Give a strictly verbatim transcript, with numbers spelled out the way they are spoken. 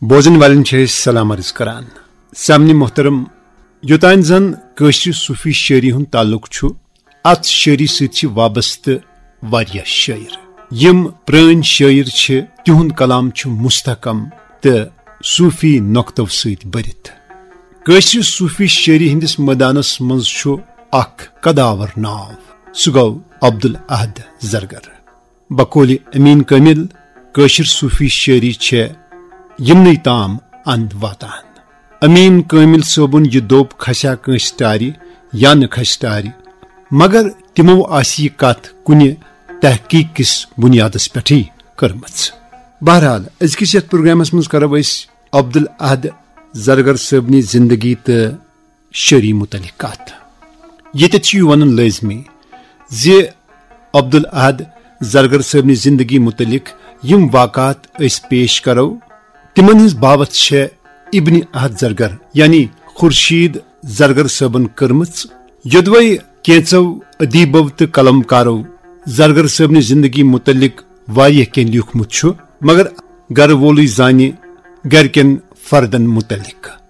بوزن والٮ۪ن چھِ أسۍ سلام عرض کران۔ سامعین محترم، یوٚتام زن کٲشرِ صوٗفی شٲعری ہُنٛد تعلق چھُ، اتھ شٲعری سۭتۍ چھِ وابستہٕ واریاہ شٲعر۔ یِم پرٲنۍ شٲعر چھِ، تِہُنٛد کلام چھُ مستحکم تہٕ صوٗفی نۄقطو سۭتۍ بٔرِتھ۔ کٲشرِ صوٗفی شٲعری ہٕنٛدِس مٲدانس منٛز چھُ اکھ قداور ناو، سُہ گوٚو عبدالاحد زرگر۔ بقولِ امین کامل، کٲشِر صوٗفی شٲعری چھےٚ یِمنٕے تام اند واتان۔ امین کامل صٲبُن یہِ دوٚپ کھسیا کٲنٛسہِ ٹارِ یا نہٕ کھسہِ ٹارِ، مگر تِمو آسہِ یہِ کتھ کُنہِ تحقیق کِس بُنیادس پٮ۪ٹھٕے کٔرمٕژ۔ بہرحال، أزکِس یتھ پروگرامس منٛز کرو أسۍ عبدالاحد زرگر صٲبنہِ زندگی تہٕ شٲعری متعلق کتھ۔ ییٚتٮ۪تھ چھُ یہِ ونُن لٲزمی زِ عبدالاحد زرگر صٲبنہِ زندگی متعلق یِم واقعات أسۍ پیش کرو، تِمن ہٕنٛز باوتھ چھےٚ ابن احد زرگر یعنی خورشید زرگر صٲبن کٔرمٕژ۔ یوٚدوے کینٛژو ادیبو تہٕ قلم کارو زرگر صٲبنہِ زندگی متعلق واریاہ کینٛہہ لیوٗکھمُت چھُ، مگر گرٕ وولٕے زانہِ گرِکٮ۪ن فردن متعلق۔